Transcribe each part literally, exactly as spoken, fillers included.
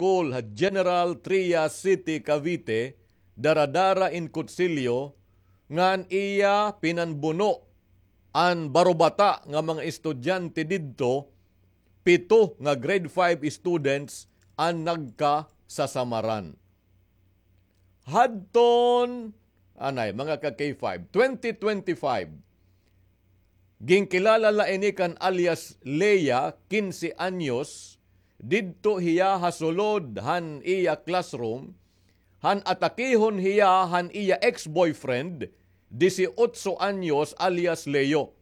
school ha General Trias City, Cavite, daradara in kutsilyo ngan iya pinanbuno an barobata nga mga estudyante didto, pito nga grade five students an nagkasasamaran. Hadton, anay, mga ka-K five, twenty twenty-five, ginkilala la ini kan alias Lea, kinse anyos, didto hiya ha sulod han iya classroom, han atakihon hiya han iya ex-boyfriend, disiotso anyos, alias Leo.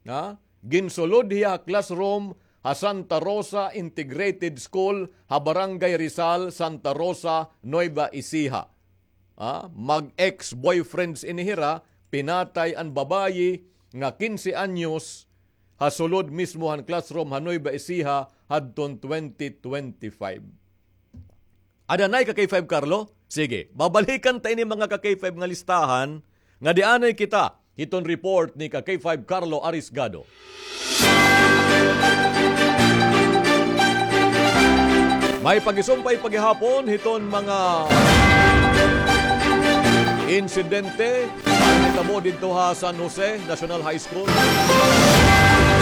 Ha? Ginsulod hiya ha classroom ha Santa Rosa Integrated School ha Barangay Rizal, Santa Rosa, Nueva Ecija. Ha? Mag-ex-boyfriends ini hira, pinatay an babayi nga kinse anyos ha sulod mismo han classroom ha Nueva Ecija hadton twenty twenty-five. Ada anay ka-K five Carlo? Sige, babalikan ta ini mga ka-K five nga listahan nga di anay kita hiton report ni ka-K five Carlo Arisgado. May pagisumpay pa gihapon hiton mga insidente. An hitabo didto ha San Jose National High School.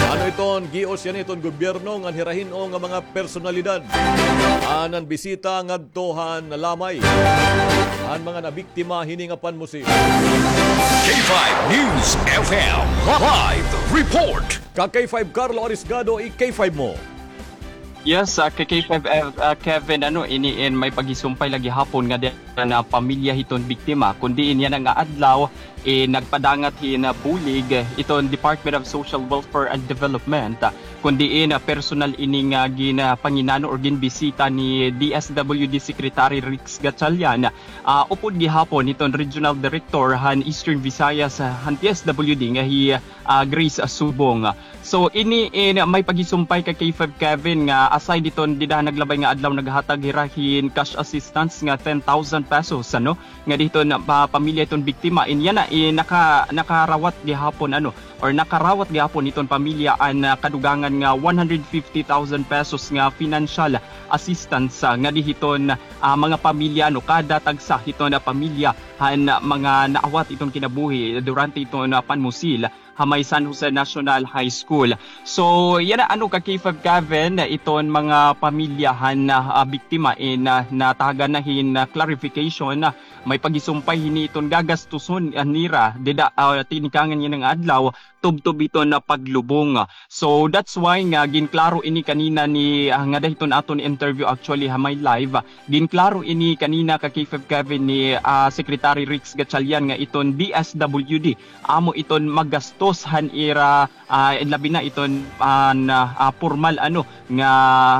Ano iton gios yana hiton gobyerno ngan hira hin-o nga mga personalidad an nanbisita ngadto han lamay han mga nabiktima hini nga panmusil. K five News F M live report. Ka-K five Carlo Arisgado, i-K five mo. Yes, ah, ka-K five, ah, Kevin, ano, ini in may pagisumpay la gihapon nga di na pamilya hiton biktima, kun diin yana nga adlaw, eh, nagpadangat hin, ah, bulig, eh, iton Department of Social Welfare and Development, ah, kun diin, ah, personal ini nga gin, ah, panginano or ginbisita ni D S W D Secretary Rex Gatchalian, ah, upod gihapon hiton Regional Director han Eastern Visayas, ah, han D S W D nga hi, ah, Grace Subong. So, ini in may pagisumpay ka-K five Kevin nga aside hiton dida naglabay nga adlaw naghatag hira hin cash assistance nga ten thousand pesos, ano, nga diton pa-, pamilya hiton biktima. In yana, in naka-, nakarawat gihapon, ano, or nakarawat gihapon hiton pamilya an, ah, kadugangan nga one hundred fifty thousand pesos nga financial assistance, ah, nga dihiton, ah, mga pamilya, no, kada tagsa hiton, ah, pamilya han, ah, mga naawat hiton kinabuhi durante hiton, ah, panmusil ha may San Jose National High School. So, yana, ano, ka-K five Kevin, iton mga pamilya han, ah, biktima in, ah, natagan na hin, ah, clarification, ah, may pagisumpay hini iton gagastuson, ah, nira dida, ah, tinikangan yana nga adlaw, tubtob hiton, ah, paglubong. So, that's why nga ginklaro ini kanina ni, ah, ngada hiton aton interview actually ha may live, ah, ginklaro ini kanina ka-K five Kevin ni, ah, Secretary Rex Gatchalian nga iton D S W D amo iton magastos han ira, ah, labi na iton, ah, na, ah, pormal, ano, nga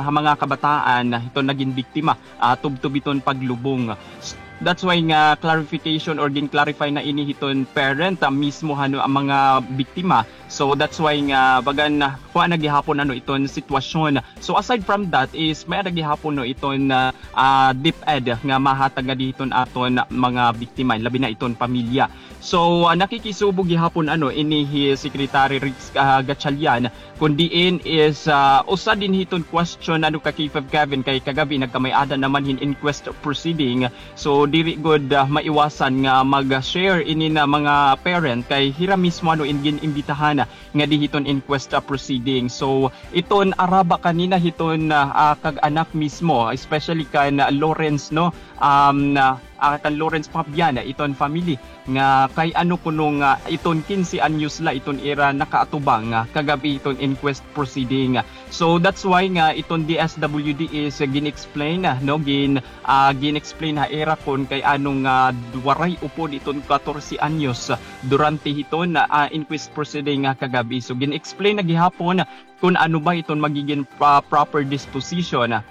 ha mga kabataan iton nagin biktima, ah, tubtob iton paglubong. S-, that's why nga clarification or gin-clarify na ini hiton parent, ah, mismo, ano, an mga biktima. So that's why nga bagan, ah, kuan na gihapon, ano, iton sitwasyon. So aside from that is may-ada gihapon, no, iton, ah, ah, DepEd nga mahatag ngadi hiton aton mga biktima, labi na iton pamilya. So, ah, nakikisubo gihapon, ano, ini hi Secretary Rex, ah, Gatchalian, kun diin is, ah, usa dinhi iton question, ano, ka-K five Kevin, kay kagab-i nagkamay-ada naman hin inquest proceeding. So, diri gud, ah, maiwasan nga mag-share ini na mga parent kay hira mismo, ano, in gin-imbitahan ngadi hiton inquest, ah, proceeding. So, iton araba kanina hiton, ah, ah, kag-anak mismo, especially kan, ah, Lawrence, no? Um, ah, ah, kan Lawrence Fabian, ah, iton family nga kay ano kuno nga iton kinse anyos la iton ira nakaatubang, ah, kagab-i iton inquest proceeding. So that's why nga iton D S W D is, ah, gin-explain, ah, no, gin, ah, gin-explain ha ira kon kay ano nga waray upod iton katorse anyos, ah, durante hiton, ah, inquest proceeding nga kagab-i. So gin-explain na gihapon kon ano ba iton magigin pa-, proper disposition, ah.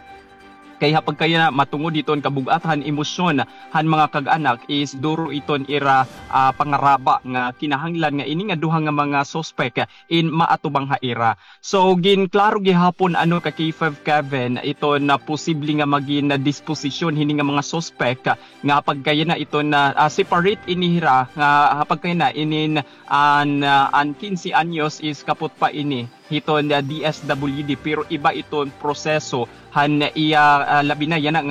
Kay ha pagkayana matungod hiton kabug-at han emosyon han mga kag-anak is duro iton ira, ah, pangaraba nga kinahanglan nga ini nga duha nga mga suspek in maatubang ha ira. So, ginklaro gihapon, ano, ka-K five Kevin, iton posible nga magin disposisyon hini nga mga suspek nga pagkayana iton, ah, separate ini hira nga pagkayana inin an, ah, an kinse anyos is kapot pa ini hiton, ah, D S W D, pero iba iton proseso han iya, ah, labi na yana